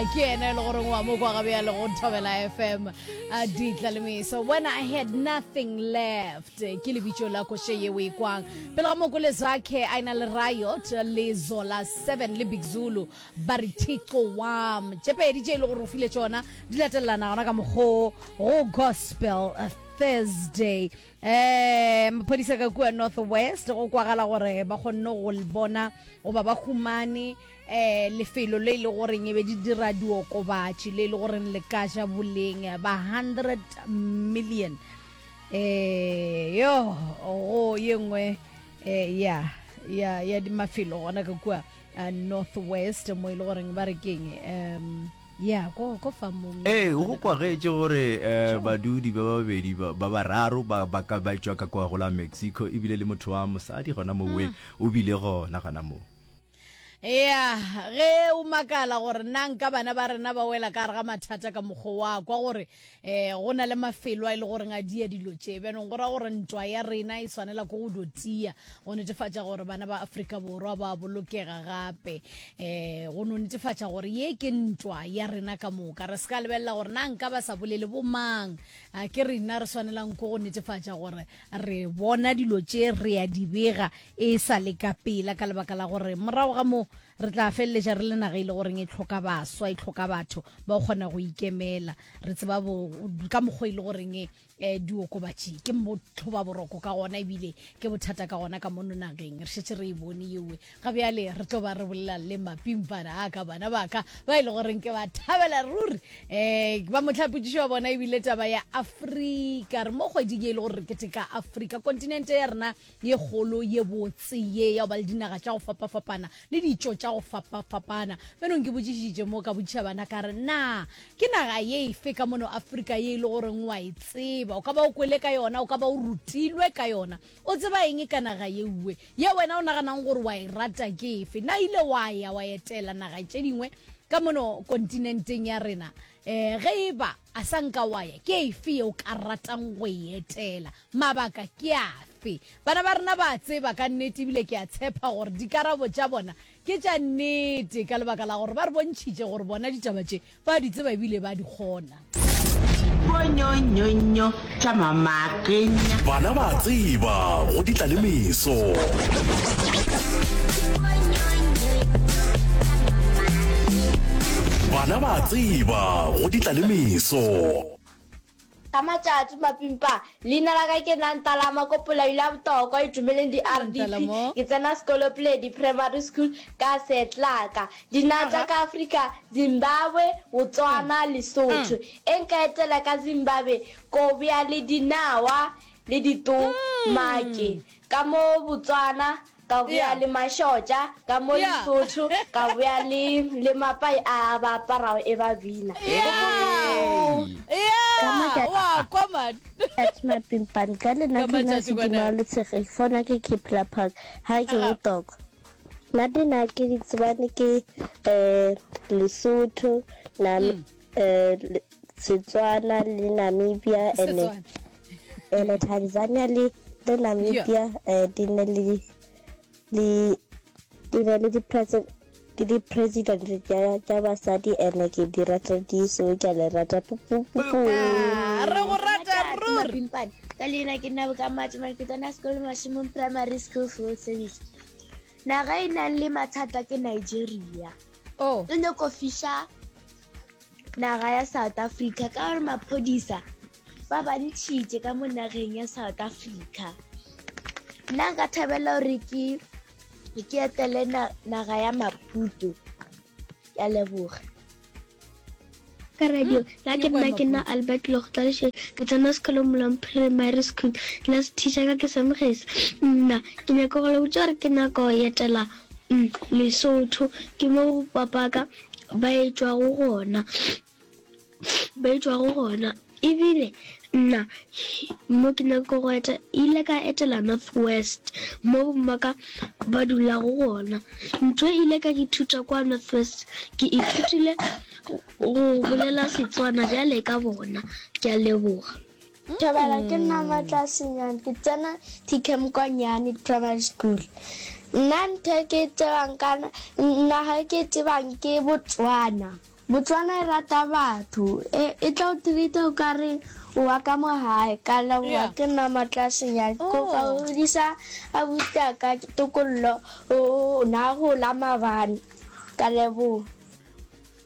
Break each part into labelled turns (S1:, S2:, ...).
S1: Ke yena e le goreng wa mo kwa gabjale go Thobela FM. A ditla le meso. When I had nothing left. Ke lebitso la koše ye o e kwang. Pele ga moko le Zakhe a ena le Riot le Zola 7 le Big Zulu ba re Thixo wam. Tše pedi tše e le gore o file tšona di latelelana gona ka mokgo go Gospel Thursday. Um maphodisa ka kua North West go kwagala gore ba kgonne go bona goba ba humane um lefelo le e le goreng e be di dira diokobatši le e le goreng le ka ja boleng ba 100 million um yo go ye nngwe um ya ya ya mafelo gona ka kua eh, North West mo e le goreng ba re keng um ya ko ko famong
S2: Ee, go kwagetše gore eh, badudi ba babedi ba ba bararo ba ba ka ba tšwa ka kwa go la Mexico ebile le motho wa mosadi gona mowe o bile gona gona moo.
S1: Ya, ge o makala gore na nka bana ba rena ba wela ka gare ga mathata ka mokgwa wa kwa gore um go na le mafelo a e le goreng a dia dilo tše bjanong go ra gore ntwa ya rena e swanela ko go do tia go netefatša gore bana ba Afrika Borwa ba bolokega gape um go no netefatša gore ye ke ntwa ya rena ka moka re se ka lebelela gore na nka ba sa bolele bomang a ke rena re swanelang ko go netefatša gore re bona dilo tše re ya di bega e sa le ka pela ka lebaka la gore morago ga moo re tla feleletša re le naga e le goreng e tlhoka baswa e tlhoka batho ba go kgona go ikemela re tseba ka mokgwa e le goreng um diokobatši ke motho ba boroko ka gona ebile ke bothata ka gona ka mono nageng re šetše re e bone yewe ga bjale re tlo ba re bolela le mapimpana a ka bana ba ka ba e le goreng ke ba thabela ruri um ba motlhapotšišo wa bona ebile taba ya afrika re mo kgweding e le gore re keteka afrika kontinente ya rena ye kgolo ye botse ye ya go ba le dinaga tša go fapafapana le ditšo tša go fapafapana. Bjanong ke botšišitše mo ka botšiša bana ka re, Na ke naga ye efe ka mono Afrika ye e le goreng wa e tseba? O ka ba o kwele ka yona, o ka ba o rutilwe ka yona. O tseba eng ka naga yeuwe? Ye wena o naganang gore wa e rata ke efe? Na ile wa ya wa etela naga tše dingwe ka mono kontinenteng ya rena? Um ge e ba a sa nka wa ya, ke efe ye o ka ratang go e etela? Mabaka ke afe? Bana ba rena ba a tseba ka nnete ebile ke a tshepa gore dikarabo tša bona ke tša nnete ka lebaka la gore ba re bontšhitše gore bona ditaba tše ba di tseba ebile ba di kgona.
S3: Bonyonyonyo tša mamakenya.
S4: Bana ba a tseba go di tla le meso. Bana ba a tseba go di tla le meso.
S5: Ka matšatši mapimpa, leina la ka ke nna Ntalama ko Polaila ya Botokwa, Itumeleng di-RDP. Ke tsena sekolo Pledi Primary School ka Setlaka. Dinaga tša ka Afrika, Zimbabwe, Botswana, Lesotho. E nka etela ka Zimbabwe, ko bja le dinawa le ditomake. Ka mo Botswana, Ka boya le mašotša, ka mo Lesotho, ka boya le, le mapai a ba aparago e ba bina.
S6: Matšatši mapimpane ka lena ke na sedima le tshege fona ke Kipla Park ha ke botoko nna dina ke di tsebane ke eh Lesotho na eh Setswana le Namibia ene Ene Tanzania le le Namibia eh, di ne le le di ne le di di-president tša tša basadi ene ke di rata di so ke a le rata pu pu pu pu.
S1: Ah, re go rata ruri.
S5: Mapimpane ka leina ke nna bokamatso ke tsena sekolo Mašemong Primary School full service naga e nang le mathata ke Nigeria
S1: Oh.
S5: e nyako fiša naga ya South Africa ka gore maphodisa ba ba ntšhitše ka mo nageng ya South Africa. Nna nka thabela gore ke ke etele naga ya Maputo. Ke a leboga.
S6: Ka radio la ke nna ke nna Albert Logtlaleshe ke tsena sekolo Molong Primary School class teacher ka ke Samogese nna ke nyaka go le botša gore ke nako go etela mm, Lesotho ke mo papaka ba etšwago gona ba etšwago gona. Ebile nna mo ke nyako go eta, ile ka etela North West mo bommaka ba dulago gona. Ntho e ile ka ithuta kwa North West, ke ithutile go bolela Setswana bjale ka bona. Ke a leboga.
S5: Thobela, ke nna Matla Senyane, ke tsena TKM kwa Nyane Primary School. Nna ntho e ke e tsebang ka naga e ke e tsebang ke Botswana.
S6: Botswana e rata batho. E, e tla o treat-a o ka re o wa ka mo gae. Ka leboga
S1: Yeah.
S6: ke nna Matlasenyane. Ko ka
S1: Oh.
S6: godisa abuti a ka Tokollo o na gola maabane. Ka leboga.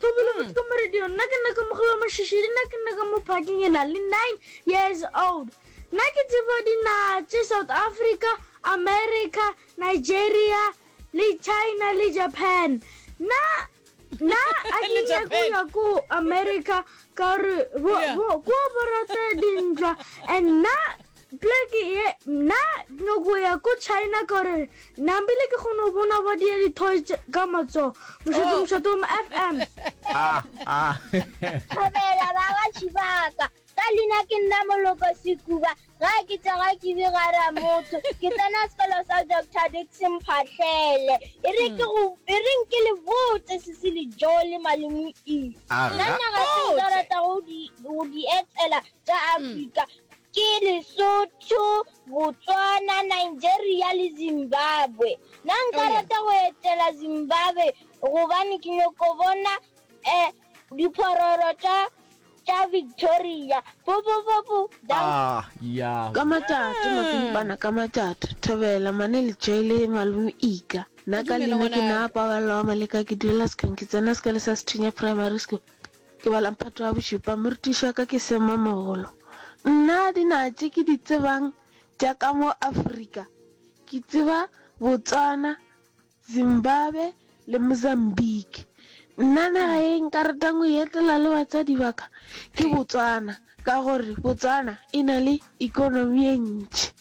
S5: Thobile botse ka mo radio nna ke nna ka mogolo Mashishidi nna ke nna ka mo parking ke na le 9 years old nna ke tseba dinaga tše South Africa, America, Nigeria le China le Japan nna nna a ke
S1: Le
S5: nyake go
S1: Japan.
S5: ya ko America ka gore bo
S1: Yeah.
S5: bo ko ba rata dintwa and nna Pleke ye nna nyoko ya ko China ka gore nambile ke kgone go bona ba dia di-toy ka matsogo. Mošate
S1: Oh.
S5: mošate wa FM.
S2: Ah, ah.
S7: Thobela ba ga Tšhibaka. Ka leina ke nna Moloko Sekuba. Ga ke tsoga ke be gara motho. Ke tsena sekolo sa Doctor Dickson Phahlele. E re ke go e reng ke le botse Sisi le Joe le Malome E.
S2: Aga.
S7: Nna naga tse nka ratago go di go di etela tša Afrika Ke Lesotho, Botswana, Nigeria le Zimbabwe. Nna nka rata go etela Zimbabwe gobane ke nyoko bona um diphororo tša tša Victoria. Popopopo, danko.
S2: Ah, ya.
S8: Ka matšato, mapimpana ka matšato. Thobela, Mane Letšoi le Malome Ika. Nna ka
S1: Dumela
S8: leina ke
S1: ngwanaka.
S8: na Paballo wa Maleka ke dulela Sekong ke tsena sekolo sa Sethunya Primary School. Ke bala mphato wa bošupa, morutiši wa ka ke Semmamogolo. Nna dinaga tše ke di tsebang tša ka mo Afrika, ke tseba Botswana, Zimbabwe le Mozambique. Nna naga ye nka ratang go e etela le batswadi ba ka ke Botswana ka gore Botswana e na le ikonomi ye ntši.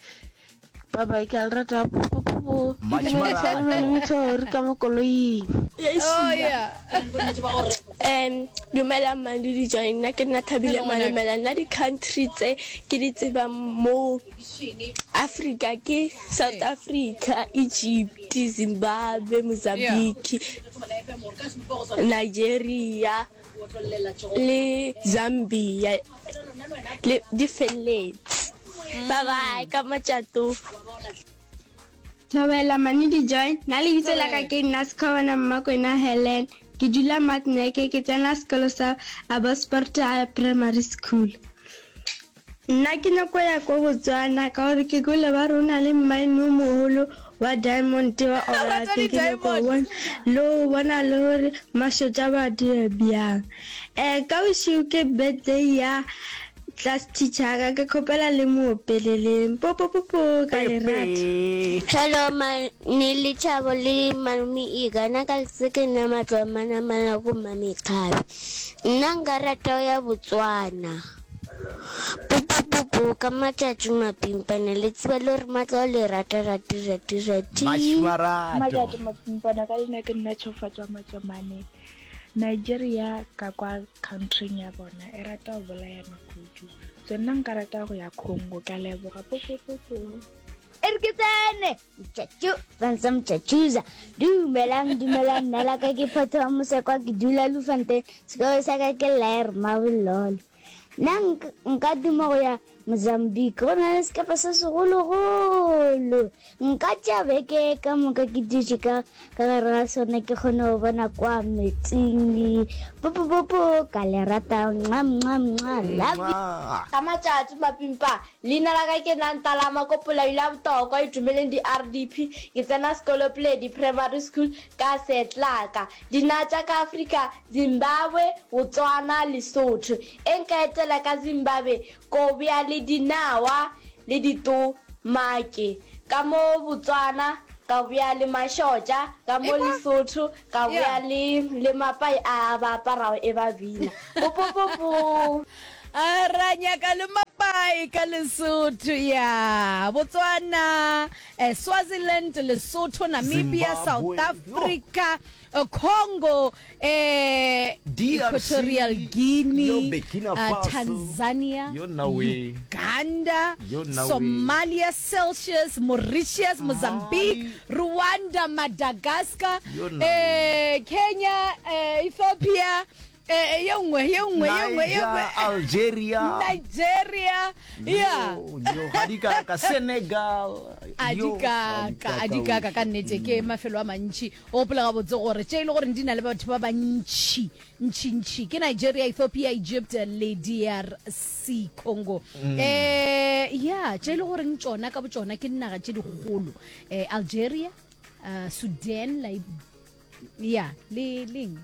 S8: Bye bye, ke a le rata. Popopopo. Ke dumediša le malome Thori ka mo koloing.
S1: Oh yeah.
S6: Um dumelang Mandudi Joy nna ke nna Thabile Malemela nna di-country tse ke di tsebang mo Africa ke South Africa, Egypt, Zimbabwe, Mozambique, Nigeria le Zambia le di felletse. Bye bye ka matšato.
S9: Thobela Manidi Joy, nna lebitso la ka ke nna Sekhobana Mmakwena Helen. Ke dula Matneke, ke tsena sekolo sa Abbotsford High Primary School. Nna ke nyako ya ko Botswana ka gore ke kwele ba re o na le mmaene o mogolo wa diamond wa Orate. Ke nyako go bona le go bona le gore mašotša ba dira bjang. Um ka bošego ke birthday ya Class teacher ka ke kgopela le mo opeleleng popopopo ka lerato.
S7: Hello ma ne le Thabo le malome Ika nna ka letse ke nna matlo a manamana ko Mmamekgabe nna nka rata go ya Botswana popopopo ka matšatši mapimpana le tseba le gore matlo le rata rati rati rati.
S10: Matšatši mapimpana ka leina ke nna Tshofatšwa Matšomane. Nigeria ka kwa countryng ya bona e rata go bolayana kudu. So nna nka rata go ya Congo. Ke a leboga. Popopopo.
S7: E re ke tsene mtšatšu fansa mtšatšuza dumelang dumelang nna la ka ke phatho wa mosekwa ke dula lufante sekolo sa ka ke laer mabololo nna nka duma go ya Mozambique go na le sekepe se segologolo. Nka tšea beke ka moka ke dutše ka ka gare ga sona ke kgone go bona kwa metsing. Popopopo ka le rata mwa mwa mwa love you.
S5: Ka matšatši mapimpa, leina la ka ke Nantalama ko Polaila ya Botokwa Itumeleng di-RDP. Ke tsena sekolo Pledi Primary School ka Setlaka. Dinaga tša ka Afrika, Zimbabwe, Botswana, Lesotho. E nka etela ka Zimbabwe ko bea le dinawa le ditomake. Ka mo Botswana ka bea le mašotša, ka mo Lesotho ka bea le le mapai a ba aparago e ba bina. Popopopo.
S1: A ra nyaka le mapai ka Lesotho ya Botswana, eh, Swaziland, Lesotho, Namibia, South
S2: Zimbabwe.
S1: Africa, Congo, eh,
S2: DRC,
S1: Equatorial
S2: yo
S1: Guinea,
S2: Burkina
S1: uh,
S2: Faso,
S1: Tanzania,
S2: yo Norway,
S1: Uganda,
S2: yo Norway.
S1: Somalia, Celsius, Mauritius, Mozambique, Rwanda, Madagascar,
S2: Yo Norway.
S1: eh, Kenya, eh, Ethiopia. Eh, eh, ye nngwe ye nngwe ye nngwe ye nngwe
S2: Niger, Algeria
S1: Nigeria ya
S2: Yo, yo, ga di kaka Senegal
S1: a di
S2: yo, ga di
S1: kaka a di kaka ka nnete ke mafelo a mantši o gopola gabotse gore tše e le gore di na le batho ba bantši ntšintši ke Nigeria Ethiopia Egypt le DRC Congo um ya tše e le goreng tšona ka botšona ke dinaga tše dikgolo um Algeria uh, Sudan ya le leng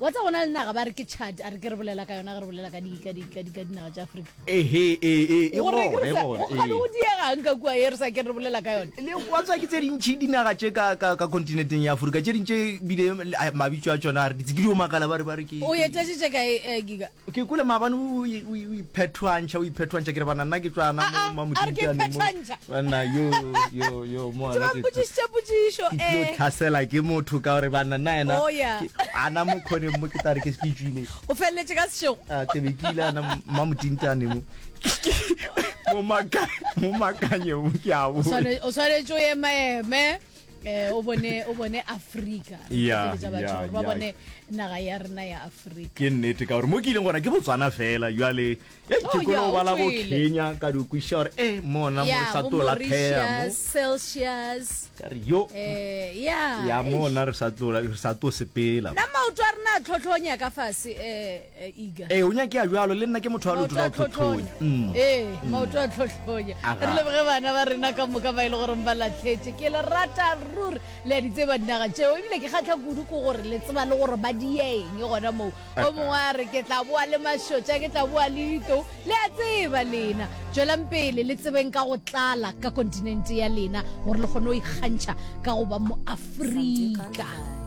S1: Wa tseba go na le naga ba re ke Chad, a re ke re bolela ka yona ge re bolela ka di, ka di, ka di, ka dinaga tša Afrika.
S2: Ehe, ee, ee, e
S1: Gore
S2: gona,
S1: re
S2: e
S1: sa,
S2: gona,
S1: go kgane
S2: ee.
S1: go diegang ka kua ye re sa ke re bolela ka yona.
S2: Le wa tseba ke tse dintši dinaga tše ka, ka, ka kontinenteng ya Afrika, tše ding tše bile le- mabitso a tšona a re ditse ke dio makala ba re ba re ke.
S1: O etetše tše kae, eh, Giga?
S2: Ke kwele maabane o, o, o iphethwantšha, o iphethwantšha, ke re bana nna ke tšwa
S1: Ah,
S2: mo
S1: ah, a re ke
S2: Mamodintane mo.
S1: iphethwantšha.
S2: Banna yo, yo, yo, mo
S1: Ke
S2: ana
S1: ba
S2: ke
S1: mpotšišitše potšišo,
S2: ke tlo
S1: eh.
S2: tlhasela ke motho ka gore banna nna yena
S1: Oh, yeah.
S2: ke- ana mo khoneng mo ke tla re ke ke tšwile.
S1: O feleletše ka sešego.
S2: A ke be ke ile ana Mamodintane mo. Mo maka, mo makanye mo ke a
S1: O
S2: bona.
S1: swane- o swanetše o emaeme eh, o bone o bone Afrika.
S2: Ya,
S1: Re batho
S2: ya,
S1: gore ba
S2: ya.
S1: bone naga ya rena ya Afrika.
S2: Ke nnete ka gore mo ke ileng gona ke Botswana fela jwale eh,
S1: Oh,
S2: ke kone
S1: ya,
S2: go
S1: o
S2: bala bo
S1: tswele.
S2: Kenya ka di kwešiša gore eh mona mo re
S1: Ya,
S2: sa
S1: bo
S2: tlo latlhega mo.
S1: Mauritius, Celsius.
S2: Ka re yo
S1: Eh, ya.
S2: ya
S1: eish.
S2: mona re sa tlo re sa tlo sepela.
S1: Nna maoto a rena a tlhotlhonya ka fase eh, eh, Iga.
S2: Ee, o nyakea bjalo le nna ke motho wa leoto
S1: Maoto
S2: la
S1: a
S2: go tlhotlhonya.
S1: tlhotlhonya.
S2: Mm.
S1: Ee, maoto a tlhotlhonya.
S2: Aga.
S1: Re leboge bana ba rena ka moka ba e le goreng ba latlhetše. Ke le rata ruri. Le a di tseba dinaga tšeo. Ebile ke kgatlha kudu ke gore le tseba le gore ba di eng gona moo. O mongwe a re ke tla boa le mašotša, ke tla boa le ditou. Le a tseba lena. Tšwelang pele le tsebeng ka go tlala ka kontinente ya lena gore le kgone go ikgantšha ka go ba Moafrika.